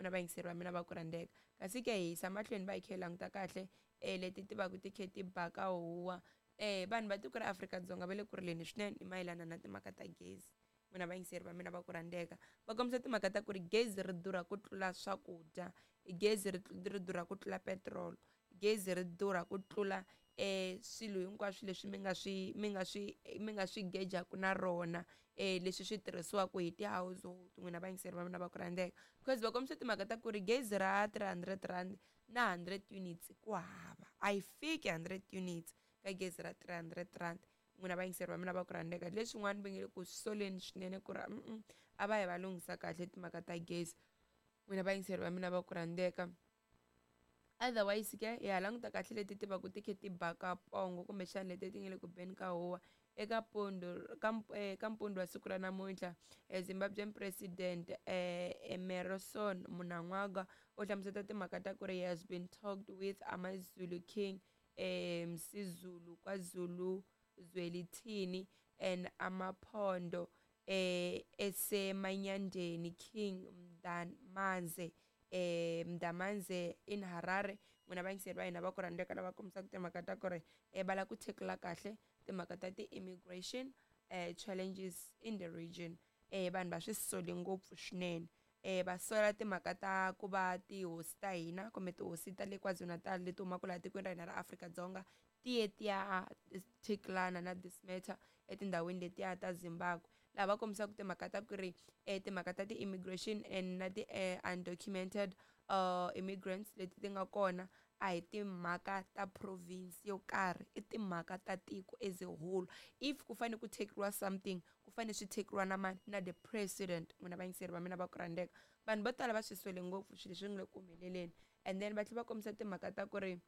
N'wina vayingiseri va mina va ku rhandzeka, kasi ke hi yisa mahlweni va hi kha hi languta kahle leti ti va ku ti khe ti baka huwa. Vanhu va tiko ra Afrika-Dzonga va le ku rileni swinene hi mayelana na timhaka ta gezi. N'wina vayingiseri va mina va ku rhandzeka, va kombisa timhaka ta ku ri gezi ri durha ku tlula swakudya, gezi ri durha ku tlula petrol, gezi ri durha ku tlula swilo hinkwaswo leswi mi nga swi gejaku na rona, leswi swi tirhisiwaka hi ti-household. N'wina vayingiseri va mina va ku rhandzeka, because va kombisa timhaka ta ku ri gezi ra R300 na 100 units ku hava, a yi fiki 100 units ka gezi ra R300. N'wina vayingiseri va mina va ku rhandzeka, leswin'wana va nge le ku soleni swinene ku ri a va yi va lunghisa kahle timhaka ta gezi. N'wina vayingiseri va mina va ku rhandzeka, otherwise ke hi ha languta kahle leti ti va ku ti khe ti baka pongo, kumbexana leti ti nga le ku beni ka huwa eka pondo ka mpundzu wa siku ra namuntlha. Zimbabwean President Emmerson Mnangagwa u hlamusela timhaka ta ku ri he has been talked with AmaZulu King Misuzulu kaZulu Zwelithini and Amaphondo eseManyandeni King Mdanmanze Mdamanze in Harare. N'wina vayingiseri va hina va ku rhandzeka, lava kombisaka timhaka ta ku ri va lava ku tackle kahle timhaka ta ti-immigration challenges in the region. Vanhu va swi sole ngopfu swinene, va sola timhaka ta ku va tihosi ta hina kumbe tihosi ta le KwaZulu-Natal leti humaka laha tikweni ra hina ra Afrika-Dzonga ti ye ti ya tacklana na this matter etindhawini letiya ta Zimbabwe, laha va kombisaka timhaka ta ku ri timhaka ta ti-immigration and na ti-undocumented immigrants leti ti nga kona a hi timhaka ta province yo karhi, i timhaka ta tiko as a whole. If ku fanele ku tackliwa something, ku fanele swi tackliwa na mani? Na the president. N'wina vayingiseri va mina va ku rhandzeka, vanhu vo tala va swi sole ngopfu swilo leswi nga le ku humeleleni. And then va tlhela va kombisa timhaka ta ku ri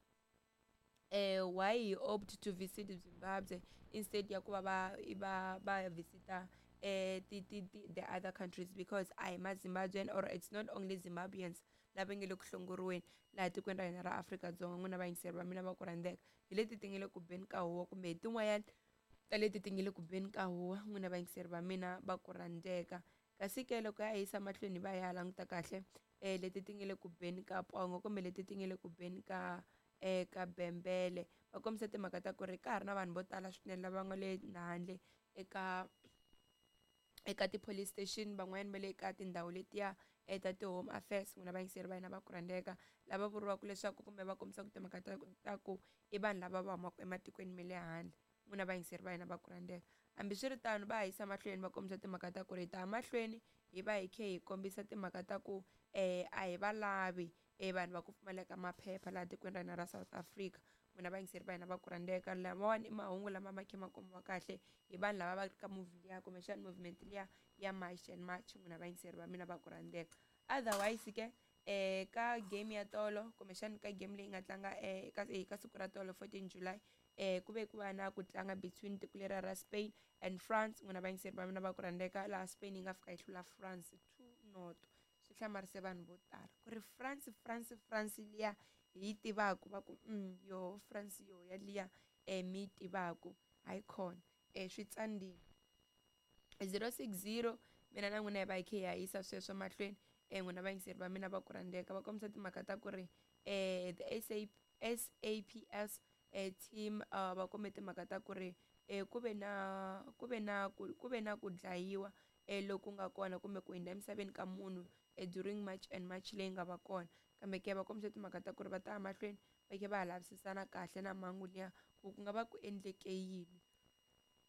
why he opt to visit Zimbabwe instead ya ku va va visita ti, ti, ti, the other countries, because a hi ma-Zimbabwean or it's not only Zimbabweans lava nge le ku hlongoriweni laha tikweni ra hina ra Afrika-Dzonga. N'wina vayingiseri va mina va ku rhandzeka, hi leti ti nge le ku beni ka huwa, kumbe hi tin'wanyana ta leti ti nge le ku beni ka huwa. N'wina vayingiseri va mina va ku rhandzeka, kasi ke loko ya yisa mahlweni va ya languta kahle leti ti nge le ku beni ka pongo, kumbe leti ti nge le ku beni ka bembele, va kombisa timhaka ta ku ri ka ha ri na vanhu vo tala swinene lava nga le handle eka ti-police station, van'wanyana va le ka tindhawu letiya ta ti-home affairs. N'wina vayingiseri va hina va ku rhandzeka, lava vuriwaka leswaku kumbe va kombisaka timhaka ta ku i vanhu lava va humaka ematikweni ma le handle. N'wina vayingiseri va hina va ku rhandzeka, hambiswiritano va ha yisa mahlweni va kombisa timhaka ta ku ri hi ta ya mahlweni hi va hi khe hi kombisa timhaka ta ku a hi va lavi vanhu va ku pfumaleka maphepha laha tikweni ra hina ra South Africa. N'wina vayingiseri va hina va ku rhandzeka, lamawani i mahungu lama ma khe ma kumiwa kahle hi vanhu lava va ri ka movie liya, kumbexana movement liya ya March and March. N'wina vayingiseri va mina va ku rhandzeka, otherwise ke ka game ya tolo, kumbexana ka game leyi nga tlanga ka siku ra tolo, 14 July, ku ve ku va na ku tlanga between tiko leriya ra Spain and France. N'wina vayingiseri va mina va ku rhandzeka, laha Spain yi nga fika yi hlula France 2-0. Swi hlamarise vanhu vo tala ku ri France, France, France liya hi yi tivaku, va ku yoho France yo yaliya mi yi tivaku, hayikhona swi tsandzile. 060, mina na n'wina hi va hi khe hi ya yisa sweswo mahlweni. N'wina vayingiseri va mina va ku rhandzeka, va kombisa timhaka ta ku ri the SA, SAPS team va kombe timhaka ta ku ri ku ve na ku dlayiwa loku nga kona kumbe ku hundza emisaveni ka munhu during March and March leyi nga va kona. Kambe ke va kombisa timhaka ta ku ri va ta ya mahlweni va khe va ha lavisisana kahle na mhangu liya, ku ku nga va ku endleke yini.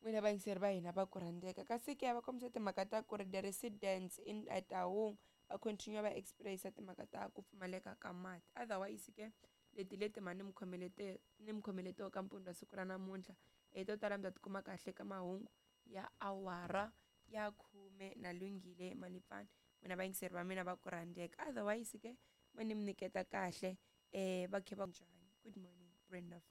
N'wina vayingiseri va hina va ku rhandzeka, kasi ke va kombisa timhaka ta ku ri the residents in Taung va continue va experience timhaka ta ku pfumaleka ka mati. Otherwise ke leti leti ma ni mi khomelete ka mpundzu wa siku ra namuntlha, to tala mi ta tikuma kahle ka mahungu ya awara ya 10 na Lunghile Malipfani. N'wina vayingiseri va mina va ku rhandzeka, otherwise ke ma ni mi nyiketa kahle va khe va njhani. Good morning, Brenda.